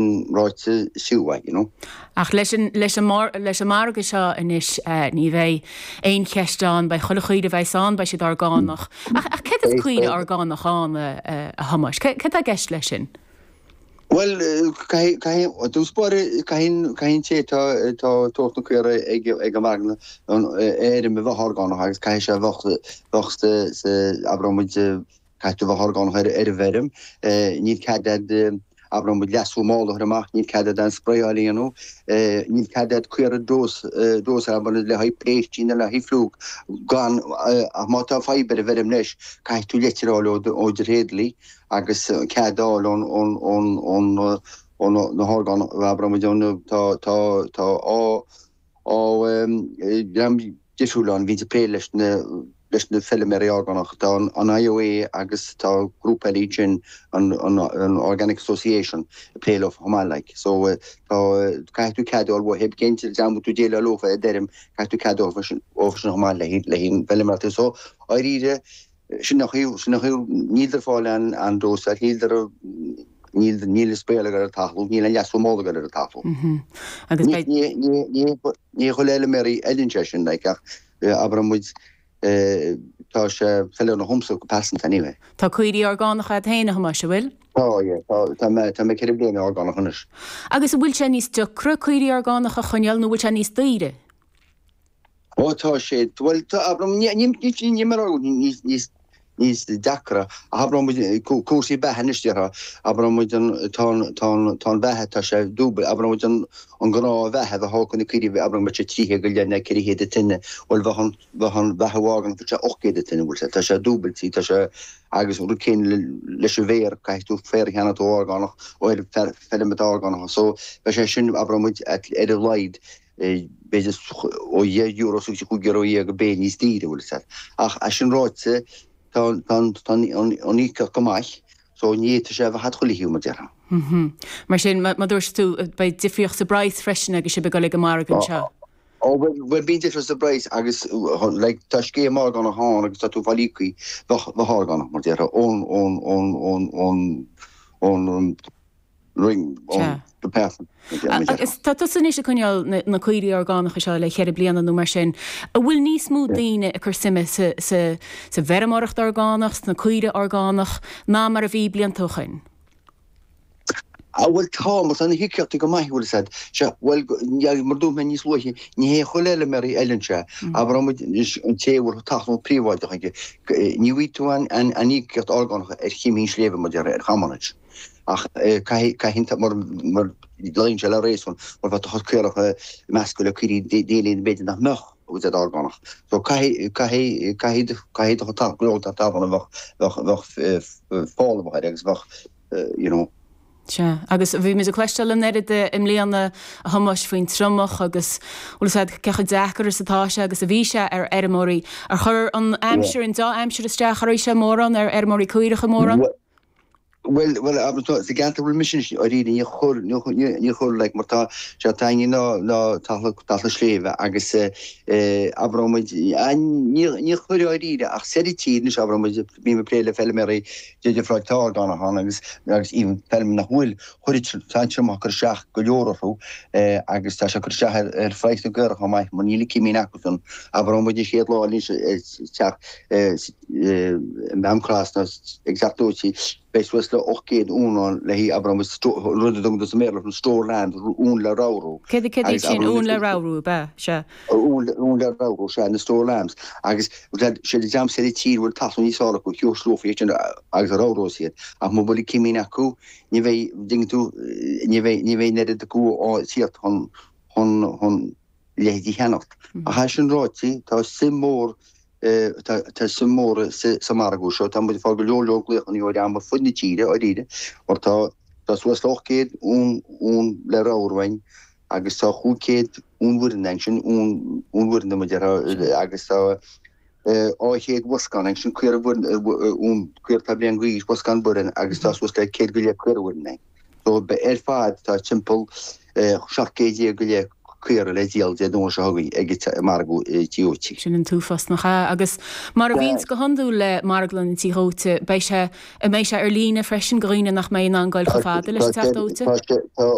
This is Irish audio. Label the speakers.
Speaker 1: Ráite is fiú é, you know.
Speaker 2: Ach leis an, leis an, leis an margadh seo anois ní bheidh aon cheist ann, beidh chuile chaoire a bheas ann, beidh siad orgánach. Ach, ach céard is caoire orgánach ann, a Thomáis? Céard tá i gceist leis sin?
Speaker 1: Bhuel, caithfidh, caithfidh, i dtús báire, caithfidh, caithfidh an té atá, atá ag tabhairt na caora ag, ag an margadh an fheirm a bheith orgánach agus caithfidh sé a bheith, bheith sa, sa, abraimis muid, Caithfidh tú bheith orgánach ar an bhfeirm. Níl cead a'd, abraimis muid, leasú mála a chur amach, níl cead a'd aon spraeáil a dhéanamh, níl cead a'd caora dose, dose abair le haghaidh péistí nó le haghaidh fliúc gan, ach má tá fadhb ar an bhfeirm leis, caithfidh tú leitir a fháil ó do thréadliaí agus cead a fháil ón, ón, ón, ón, ó na horgánach, abraimis muid, ón, tá, tá, tá, á, Á, dream difriúil ann a bhíonns ag plé leis na leis na feilméaraí orgánach. Tá an IOA agus tá grúpa eile ansin, an an Organic Association, ag plé leo chomh maith like. So tá, caithfidh tú cead a fháil uathu, cén dream a bhfuil tú ag déileáil leofa i d'fheirm, caithfidh tú cead a fháil uathu sin chomh maith le le haghaidh an bhfeilméaracht. So, dáiríre, Sin an chaoi, sin an chaoi, níl ar fáil an an dósáil, níl ar, níl, níl an spraeáil ag dul ar an talamh, níl an leasú mála ag dul ar an talamh.
Speaker 2: Agus beidh.
Speaker 1: Ní, ní, ní, ní chuile fheilméaraí a fheileann sé sin, like, ach abraimis muid, tá sé feiliúnach dhomsa go pearsanta anyway.
Speaker 2: Tá caoirigh orgánacha agat féin, a Thomáis, an bhfuil?
Speaker 1: Tá, yeah, tá, tá mé, tá mé 4 bliana orgánach anois.
Speaker 2: Agus an bhfuil sé níos deacra caoirigh orgánacha a choinneáil nó an bhfuil sé níos daoire?
Speaker 1: Ó tá sé, bhuel tá, abraimis, ní, ní, ní, ní mar níos, níos, níos deacra, ach abraimis muid, cúrsaí beatha anois déarfá, abraimis muid an, tá an, tá an, tá an bheatha, tá sé dúbail, abraimis muid an, an gnáth-bheatha a bheadh acu na caoirigh, abraimis muid sé 300 go leith nó 400 an tine, bhuel bheadh an, bheadh an bheatha orgánach, bheadh sé 800 an tine, bhfuil sé, tá sé dúbailte, tá sé, agus an rud céanna leis an bhféar, caithfidh tú féar a cheannacht ó orgánach, ó fheirm atá orgánach, so beidh sé sin, abraimis muid, ar a laghad, b'fhéidir ó €10 suas go €15 an béil níos daoire, bhfuil 'fhios a'd. Ach é sin ráite, tá an íocaíocht go maith, so ní fhéadfadh sé a bheith thart chuile thaobh, mar déarfá.
Speaker 2: Mar sin, mar dúirt tú, beidh difríocht sa bpraghas freisin agus sibh ag dul ag an margadh anseo.
Speaker 1: Ó, bhuel, bíonn difríocht sa bpraghas agus, like, tá scéim orgánach ann agus tá tú ag fáil íocaí bheith orgánach, mar déarfá, ón, ón, ón, ón, ón, ón, Roinn ón Department.
Speaker 2: Agus tá tusa anois ag coinneáil na caoirigh orgánacha seo le ceithre bliana nó mar sin. An bhfuil níos mó daoine ag cur suime sa bhfeirmeoireacht orgánach, sna caoirigh orgánach, ná mar a bhí blianta ó shoin?
Speaker 1: Á bhuel tá, mar tá na híocaíochtaí go maith, bhfuil 'fhios a'd. Sea, bhuel, mar dúirt mé níos luaithe, ní hé chuile fheilméaraí a fheileann sé. Abraimis muid anois an té a bhfuil talamh príobháideach aige, ní bhfaighidh tú an íocaíocht orgánach ar chimín sléibhe, mar déarfá, ar chamán. Ach caithfidh, caithfidh, mar, mar, luíonn sé le réasún, mar bheadh do chuid caorach measctha le caoirigh daoine b'fhéidir nach mbeadh a bhfuil siad orgánach. So caithfidh, caithfidh, caithfidh, caithfidh do chuid talamh, go leor talún a bheadh, bheadh, bheadh fál a bheadh air agus bheadh, you know.
Speaker 2: Sea, agus bhí muid ag cloisteáil an oiread i mbliana, a Thomáis, faoin triomach agus, bhfuil 'fhios a'd, cé chomh deacair is atá sé agus a bhí sé ar fheirmeoirí. Ar chuir an aimsir, an deá-aimsir isteach oraibhse mórán, ar fheirmeoirí caorach mórán?
Speaker 1: Bhuel, bhuel, abair, tá, sa gceantar a bhfuil mise anois, dáiríre, níor chuir, níor, níor, níor chuir, like, mar tá, sea, tá againne ná, ná talamh, talamh sléibhe agus eh, eh, abraimis muid, ah, níor, níor chuir dáiríre ach soir i tír anois, abraimis muid, bím ag plé le feilméaraí difriúla atá orgánach ann agus, agus even feilm nach bhfuil, chuir, tá an triomach ag cur isteach go leor orthu eh, agus tá sé ag cur isteach ar, ar phraghas na gcaorach chomh maith, mar níl an cimín acusan, abraimis muid an chéad lá anois eh, teach eh, am crosna ag teacht dóite, beidh suas le 800 uan ann le haghaidh, abraimis, rud a dtugtar sa mBéarla an store lamb, uan le ramhrú.
Speaker 2: Céard iad sin, uan le ramhrú, ab ea? Sea.
Speaker 1: Uan le ramhrú, sea, na store lambs. Agus sé an dream soir i tír a bhfuil talamh níos fearr acu, thiúrslófaí iad sin agus ramhróidh iad. Ach mura bhfuil an cimín acu, ní bheidh, dtuigeann tú, ní bheidh, ní bheidh an oiread acu á tíocht chun, chun, chun, leithéid a cheannacht. Ach é sin ráite, tá suim mhór, tá suim mhór sa margadh seo. Tá muid ag fáil go leor leor glaochanna ó dhream ar fud na tíre, dáiríre, mar tá tá suas le 800 uan uan le ramhrú againn agus tá 500 uan bhfireann againn, sin uan uan bhfireann mar a déarfá agus tá 200 bhoscán againn, sin caora bhfireann uan caora atá bliain d'aois, boscán bhfireann agus tá suas le 100 go leith caora bhfireann againn. So ar fad tá timpeall 17 céad go leith. caora le díol Dé Domhnaigh seo chugainn ag margadh Tí Dhóite.
Speaker 2: Sin an t-uafás nach ea? Agus mar a bhíonns go hiondúil le Marglann an Tí Dhóite, beidh sé, an mbeidh sé ar líne freisin do dhaoine nach mbeidh in ann goil chomh fada leis an Teach Dóite?
Speaker 1: Tá sé, tá.